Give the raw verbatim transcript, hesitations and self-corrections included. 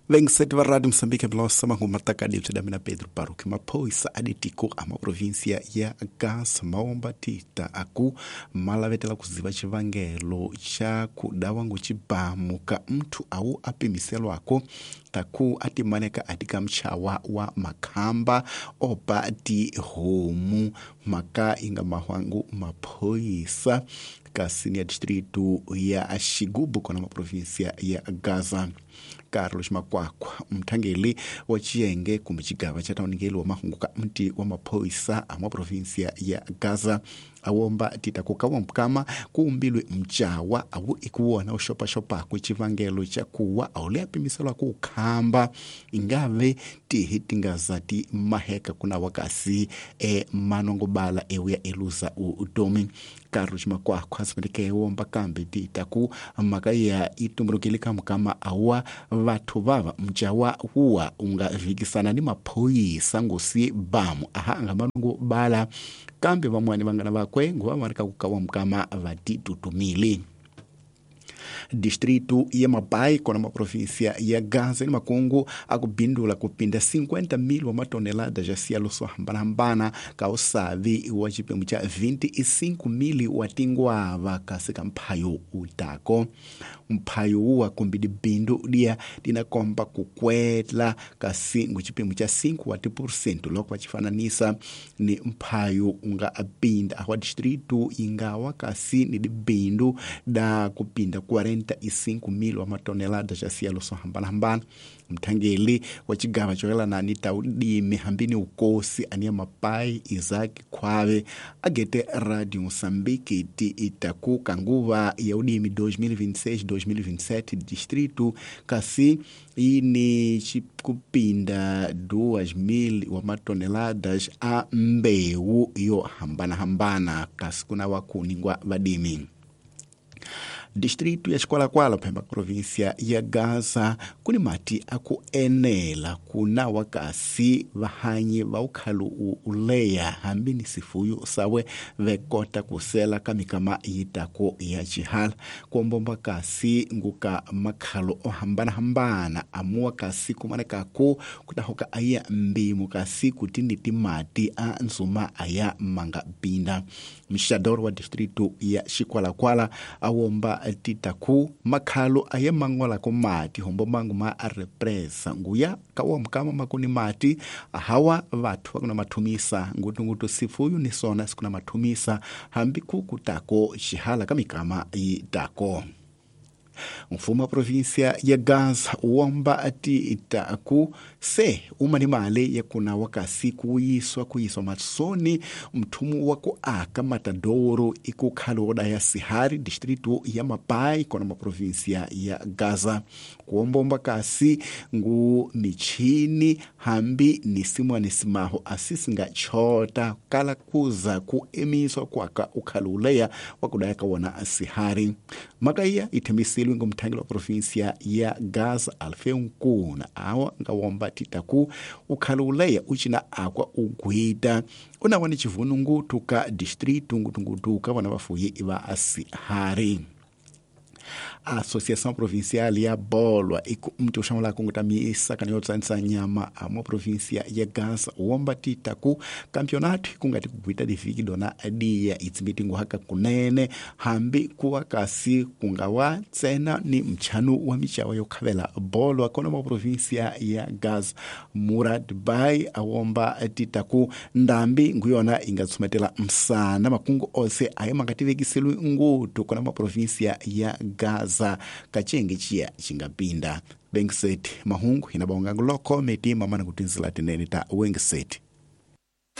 Vengiseti va Radio Moçambique Mlosa mangoma takadi bya mina Pedro Baruch maphoyisa a ditiko a maprovinsia ya Gaza maomba tita aku malavetela kuziva xivangelo xa ku dawa ngo xibamu ka muthu awu a pimiselwako taku a timaneka a tika mchawa wa makhamba oba tihomu mhaka yi nga mahwangu maphoyisa kasi ni ya distrito ya Xigubu kona maprovinsia ya Gaza. Carlos Makwakwa mthangeli wa xiyenge kumbe xigava xa tauningeli wa mahungu ka mti wa maphoyisa a maprovinsia ya Gaza awomba tita ku ka wampukama ku umbilwe mchawa awu ikuwona u xopaxopaku xivangelo xa kuwa a wu le pimiselwa ku khamba ingave tihi tingaza ti maheka kuna wakasi e manongobala ewu ya eluza utomi. Carlos Makwakwa asimeleke womba kambe tita ku mhaka ya itumbulukile ka mukama awa vathu vava mchawa huwa unga vikisana ni maphoyisa ngosi bamu aha anga manongobala kambe vamwani vangana vakwe nguva va ri ka ku ka wa mukama va titutumile. Distrito ya Mapai kona maprovinsia ya Gaza ni makungu akubindula kupinda cinquenta mil wa matonelada ja cielo swo hambanahambana ka usavi wa xipemu xa vinte e cinco mil wa tingwava kasi ka mphayo utako mphayo wuwa kumbe dibindu dia dinakomba kukwetla kasi ngu xipemu xa cinco wa tipurcento loko va xifananisa ni mphayo unga apinda wa distrito ingawa kasi ni dibindu da kupinda quarenta e cinco mil wa matonelada ja cielo swo hambanahambana. Mthangeli wa xigava xo yelana ni ta udimi hambi ni ukosi aniya Mapai Isaac Khwave agete Radio Moçambique ti itaku kanguva ya udimi dois mil e vinte e seis dois mil e vinte e sete distrito kasi ini kupinda duas mil wa matoneladas a mbewu yo hambanahambana kasi kuna wakuningwa vadimi. Distrito ya Xikwakwala phemba provinsia ya Gaza kuni mati aku enela kuna wakasi vahanyi va ukhalu uleya hambi ni sifuyu sawe vekota kusela ka mikama yitako ya xihala kuombomba kasi nguka makhalo o hambanahambana amuwa kasi kumanekaku kutahoka aya mbimu kasi kutini timati a nzuma aya manga binda. Mxador wa distrito ya Xikwakwala awomba titaku makhalo aye mangola ko mati hombo mangu ma a represa nguya kawa mkama makuni mati hawa vathu vakuna mathumisa ngutungutu sifuyu ni sona sikuna mathumisa hambi kukutako xihala ka mikama yitako. Mfumo wa provinsia ya Gaza uomba ati itaku se uma ni mali ya kuna wakasi kuyiswa kuyiswa matsoni mthumu wa ku aka matadoro ikukhaloda ya Sihari distrito ya Mapai kona maprovinsia ya Gaza kuombomba kasi ngu michini hambi ni simwa ni simaho asisinga chota kala kuza kuemiswa kwaka ukhaluleya wakudayaka wona Sihari makaya ithembisile ngomthangelo wa provinsia ya Gaza Alfeu Nkuna awa ngawomba titaku ukhaluleya uchina akwa ugwita unawa ni chivunungutu ka distrito ngutungutu ka vana vafuyi va Sihari. Associação Provincial ya Bolwa iku mtu ushamula kunguta miisa kanyo tsanisa nyama a provincia ya Gaza uomba titaku campeonato kungati kugwita diviki dona dia itsimitingu haka kunene hambi kuwa kasi kungawa tsena ni mchanu wa michawa yokhavela Bolwa kona ma provincia ya Gaza Murad Bay awomba titaku ndambi nguyona ingatsumetela msana makungu ose aye makativekiselwe ngutu kona ma provincia ya Gaza kachenge chia chingapinda. Bengiset mahungu inabonga nguloko meti mamana kutinzila tinene ta Wengiset.